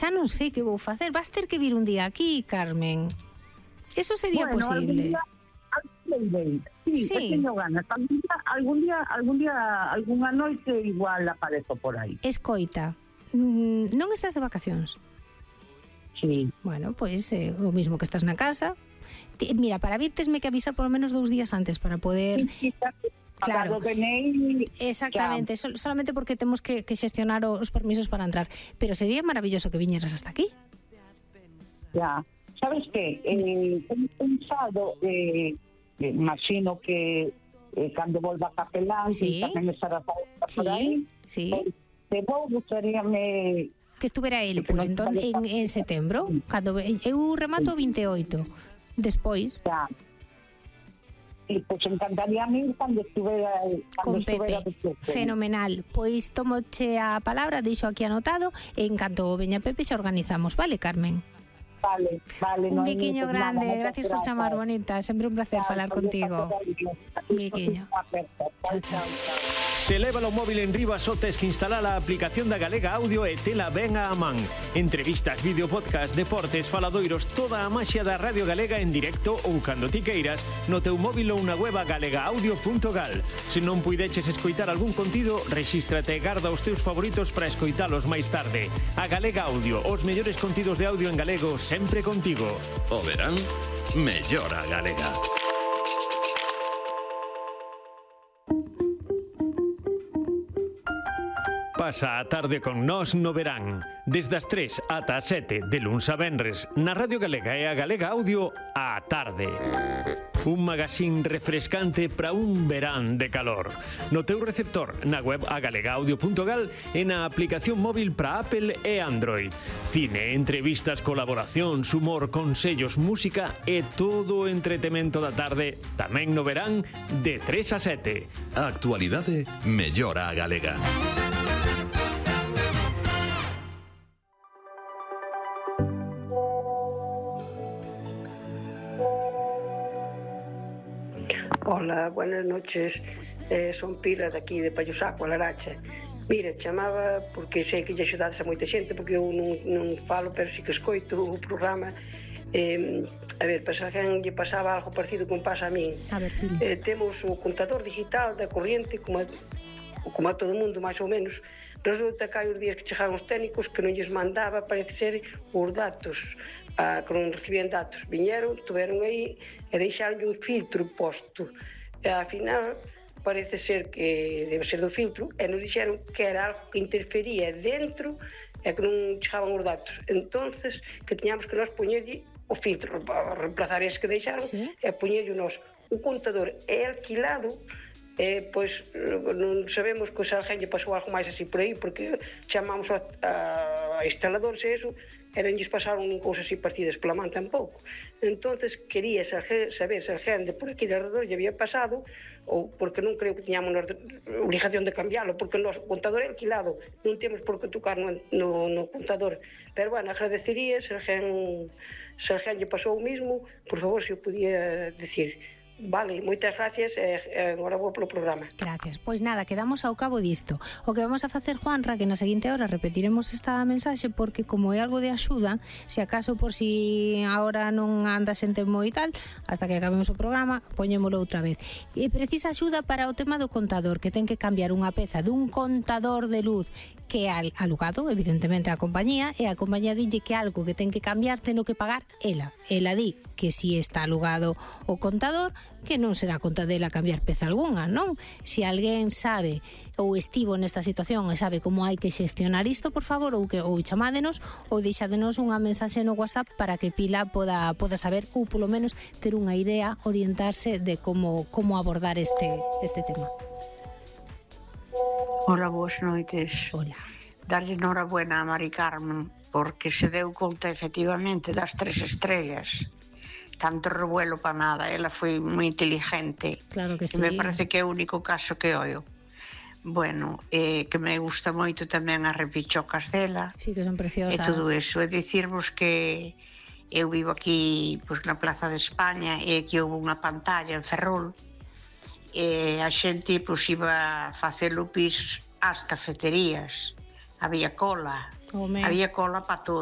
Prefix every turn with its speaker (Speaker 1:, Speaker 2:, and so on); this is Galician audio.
Speaker 1: xa non sei que vou facer. Vas ter que vir un día aquí, Carmen. Eso sería posible.
Speaker 2: Sí, teño ganas. Algunha noite igual aparezo por aí.
Speaker 1: Escoita, non estás de vacacións?
Speaker 2: Sí.
Speaker 1: Bueno, pois o mismo que estás na casa. Mira, para vir tesme que avisar por lo menos 2 días antes para poder... Claro, exactamente, solamente porque temos que xestionar os permisos para entrar. Pero sería maravilloso que viñeras hasta aquí.
Speaker 2: Ya, sabes que tengo pensado, imagino que cando volva a Capelán,
Speaker 1: sí,
Speaker 2: tamén estará por aí,
Speaker 1: sí.
Speaker 2: Te vou gustaríame
Speaker 1: que estuvera ele, pois entón en setembro, cando eu remato o 28, despois.
Speaker 2: Ya. E pois encantaría a mí cando estuvera
Speaker 1: con Pepe, fenomenal. Pois tomoche a palabra, deixo aquí anotado, e en canto veña Pepe xa organizamos, vale, Carmen?
Speaker 2: Vale.
Speaker 1: Un biquiño grande, gracias por chamar, bonita, sempre un placer falar contigo. Un biquiño. Chao.
Speaker 3: Se leva o móvil en riba só tes que instalar a aplicación da Galega Audio e tela ben a man. Entrevistas, vídeo, podcast, deportes, faladoiros, toda a maxia da Radio Galega en directo ou cando ti queiras no teu móvil ou na web galegaaudio.gal. Se non puideches escoitar algún contido, rexístrate e garda os teus favoritos para escoitalos máis tarde. A Galega Audio, os mellores contidos de audio en galego sempre contigo.
Speaker 4: O verán, mellora a Galega.
Speaker 3: Pasa a tarde con nós no verán. Desde as 3 ata as 7 de luns a venres na Radio Galega e a Galega Audio á tarde. Un magazín refrescante para un verán de calor. No teu receptor, na web agalegaaudio.gal e na aplicación móvil para Apple e Android. Cine, entrevistas, colaboracións, humor, consellos, música e todo o entretemento da tarde tamén no verán de 3 a 7.
Speaker 4: A actualidade mellora a Galega.
Speaker 5: Hola, buenas noches. Son Pilar de aquí de Pallosaco, a Laracha. Mira, chamaba porque sei que lle axudades a moita xente, porque eu non falo, pero sí que escoito o programa. A ver, para alguén lle pasaba algo parecido como pasa a min.
Speaker 1: A ver, Pili.
Speaker 5: Temos o contador digital da corriente, como a todo mundo, máis ou menos. Resulta que hai os días que chegaron os técnicos que non lles mandaba, parece ser, os datos, que non recibían datos. Viñeron, tuveron aí e deixaron un filtro posto. E, ao final, parece ser que debe ser do filtro, e nos dixeron que era algo que interfería dentro e que non chegaban os datos. Entonces, que tiñamos que nós poñerlle o filtro, reemplazar ese que deixaron, sí, e poñerlle nós. O contador é alquilado, pois non sabemos que se alguén lle pasou algo máis así por aí, porque chamamos a instaladores e eso, e non lles pasaron nin cousas así partidas pola man tampouco. Entonces quería saber se alguén de por aquí de alrededor lle había pasado, ou porque non creo que tiñamos obligación de cambiarlo, porque o noso contador é alquilado, non temos por que tocar no contador. Pero bueno, agradecería se alguén lle pasou o mismo, por favor, se o podía decir. Vale, moitas gracias e agora vou polo programa.
Speaker 1: Gracias. Pois nada, quedamos ao cabo disto. O que vamos a facer, Juanra, que na seguinte hora repetiremos esta mensaxe, porque como é algo de axuda, se acaso por si agora non andas en tempo e tal, hasta que acabemos o programa, poñémolo outra vez. E precisa axuda para o tema do contador, que ten que cambiar unha peza dun contador de luz que é alugado, evidentemente, a compañía, e a compañía dille que algo que ten que cambiar ten que pagar ela. Ela di que si está alugado o contador, que non será conta dela cambiar peza algunha, non? Se alguén sabe ou estivo nesta situación e sabe como hai que xestionar isto, por favor, ou chamádenos ou deixádenos unha mensaxe no WhatsApp para que Pila poda saber, ou polo menos ter unha idea, orientarse de como abordar este tema.
Speaker 6: Hola, boas noites.
Speaker 1: Hola.
Speaker 6: Darlle enhorabuena a Mari Carmen, porque se deu conta efectivamente das 3 estrellas. Tanto revuelo para nada, ela foi moi inteligente.
Speaker 1: Claro que sí.
Speaker 6: Me parece que é o único caso que oio. Bueno, que me gusta moito tamén as repichocas dela.
Speaker 1: Sí, que son preciosas.
Speaker 6: E todo eso, é dicirvos que eu vivo aquí, pois, na Plaza de España, e que houve unha pantalla en Ferrol, e a xente pois iba a facer lupis ás cafeterías. Había cola para todo.